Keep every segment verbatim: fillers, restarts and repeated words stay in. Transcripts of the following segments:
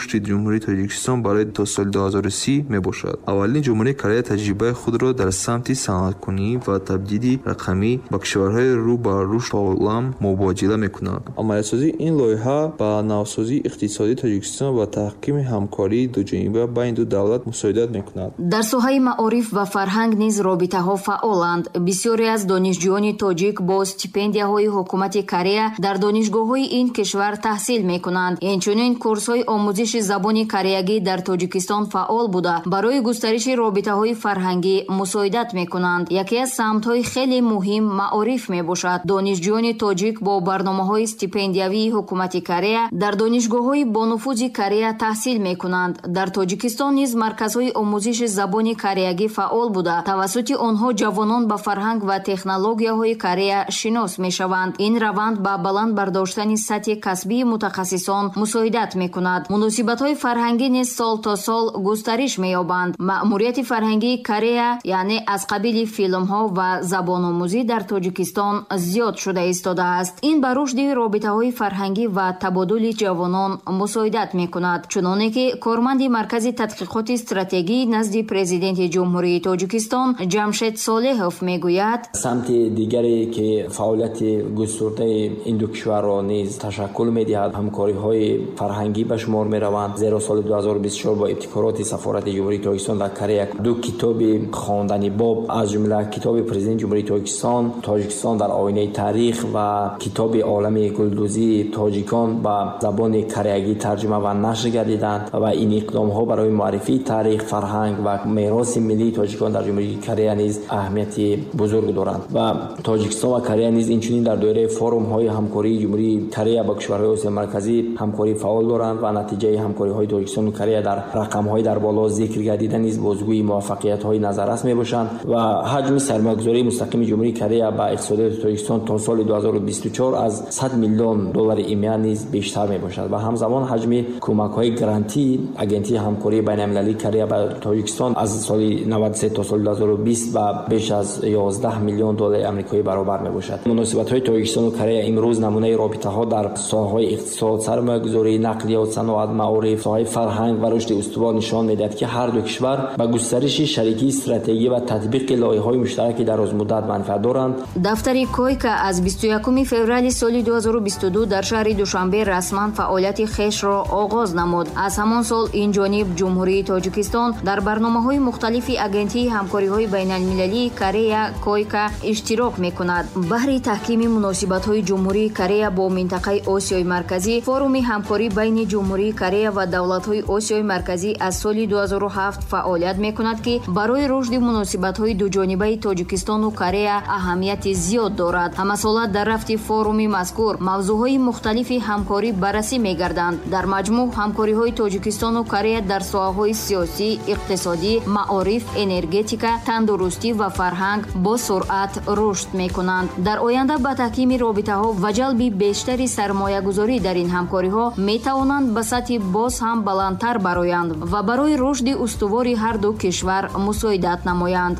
рушди Ҷумҳурии Тоҷикистон барои то соли ду ҳазору си мебошад. Аввалин Ҷумҳурии Корея таҷрибаи худро дар самти саноаткунӣ ва табдили рақамӣ ба кишварҳои рӯ ба рушд олам мубодила мекунад. Амалисозии ин лоиҳа ба навсозии иқтисодии Тоҷикистон ва таҳкими ҳамкории дуҷониба байни ду давлат мусоидат мекунад. Дар соҳаи маориф ва фарҳанг низ робитаҳо фаъоланд. Бисёре аз донишҷӯёни тоҷик бо стипендияҳои ҳукумати Корея дар донишгоҳҳои ин кишвар таҳсил мекунанд. Инчунин курсҳои омӯзиши забони кореягӣ дар Тоҷикистон фаъол буда, барои густариши робитаҳои фарҳангӣ мусоидат мекунанд. Яке аз самтҳои хеле муҳим маориф мебошад. Донишҷӯёни тоҷик бо барномаҳои стипендиявии ҳукумати Корея дар донишгоҳҳои бонуфузи Корея таҳсил мекунанд. Дар Тоҷикистон низ марказҳои омӯзиши забони кореягӣ фаъол буда, тавассути онҳо ҷавонон ба фарҳанг ва технологияҳои Корея шинос мешаванд. Ин раванд ба баланд бардоштани сатҳи касбии мутахассисон мусоидат мекунад. Муносибатҳои фарҳангӣ низ сол то сол густариш меёбанд. Маъмурияти фарҳангии Корея, яъне аз қабили филмҳо ва забономӯзӣ дар Тоҷикистон зиёд шуда истодааст. Ин ба рушди робитаҳои фарҳангӣ ва табодули ҷавонон мусоидат мекунад. Чуноне ки корманди Маркази тадқиқоти стратегӣ назди Президенти Ҷумҳурии Тоҷикистон Ҷамшед Солеҳов мегӯяд: самти дигаре ки фаъолияти густурдаи ин ду кишварро низ ташаккул медиҳад, ҳамкориҳои фарҳангӣ ба шумор мераванд. Зеро соли ду ҳазору бисту чор бо ибтикороти Сафорати Ҷумҳурии Тоҷикистон дар Корея ду китоби хондани боб, аз ҷумла китоби Президенти Ҷумҳурии Тоҷикистон «Тоҷикистон дар оинаи таърих» ва китоби «Олами гулдӯзии тоҷикон» ба забони кореягӣ тарҷума ва нашр гардиданд ва ин иқдомҳо барои муаррифии таърих, фарҳанг ва мероси миллии тоҷикон дар Ҷумҳурии Корея низ аҳамияти бузург доранд. Ва Тоҷикистон ва Корея низ инчунин дар доираи форумҳои ҳамкории Ҷумҳурии Корея ба кишварҳои Осиёи Марказӣ ҳамкории фаъол доранд ва натиҷаи ҳамкориҳои Тоҷикистон ва Корея дар рақамҳои дар боло зикр гардида низ бозгӯи муваффақиятҳои назаррас мебошанд ва ҳаҷми сармоягузории мустақими Ҷумҳурии Корея ба иқтисодиёти Тоҷикистон то соли ду ҳазору бисту чор аз сад миллион доллари имя низ бештар мебошад ва ҳамзамон ҳаҷми кӯмакҳои грантии Агентии ҳамкории байналмилалии Корея ба Тоҷикистон аз соли наваду се то соли ду ҳазору бист ба беш аз ёздаҳ миллион доллари амрикоӣ баробар мебошад. Муносибатҳои Тоҷикистон ва Корея имрӯз намунаи робитаҳо дар соҳаҳои иқтисод, сармоягузорӣ, нақлиёт, саноат, маориф, соҳаи фарҳанг ва рушди устувор нишон медиҳад, ки ҳар ду кишвар ба густариши шарикии стратегӣ ва татбиқи лоиҳаҳои муштараки дарозмуддат манфиат доранд. Дафтари Койка аз бисту якуми феврали соли ду ҳазору бисту ду дар шаҳри Душанбе расман фаъолияти хешро оғоз намуд. Аз ҳамон сол ин ҷониб Ҷумҳурии Тоҷикистон дар барномаҳои мухталифи Агентии ҳамкориҳои байналмилалии Корея Койка иштирок мекунад. Баҳри таҳкими муносибатҳои Ҷумҳурии Корея бо минтақаи Осиёи Марказӣ, форуми ҳамкорӣ байни Ҷумҳурии Корея ва давлатҳои Осиёи Марказӣ аз соли ду ҳазору ҳафт фаъолият мекунад, ки барои рушди муносибатҳои дуҷонибаи Тоҷикистону Корея аҳамияти зиёд дорад. Ҳамасола дар рафти форуми мазкур мавзӯъҳои мухталифи ҳамкорӣ баррасӣ мегарданд. Дар маҷмӯъ ҳамкориҳои Тоҷикистону Корея дар соҳаҳои сиёсӣ, иқтисодӣ, маориф, энергетика, тандурустӣ ва фарҳанг бо суръат рушд мекунанд. Дар оянда ба таҳкими робитаҳо ва ҷалби бештари сармоягузорӣ дар ин ҳамкориҳо метавонанд ба сатҳи боз ҳам баландтар бароянд ва барои рушди устувори ҳар ду кишвар мусоидат намоянд.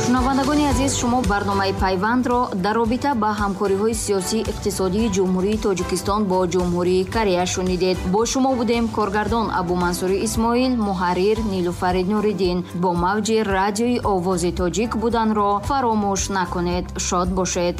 Шунавандагони азиз, шумо барномаи Пайвандро дар робита ба ҳамкориҳои сиёсӣ иқтисодии Ҷумҳурии Тоҷикистон бо Ҷумҳурии Корея шунидед. Бо шумо будем коргардон Абумансури Исмоил, муҳаррир Нилуфари Нуриддин. Бо мавҷи радиои Овози Тоҷик буданро фаромӯш накунед. Шод бошед.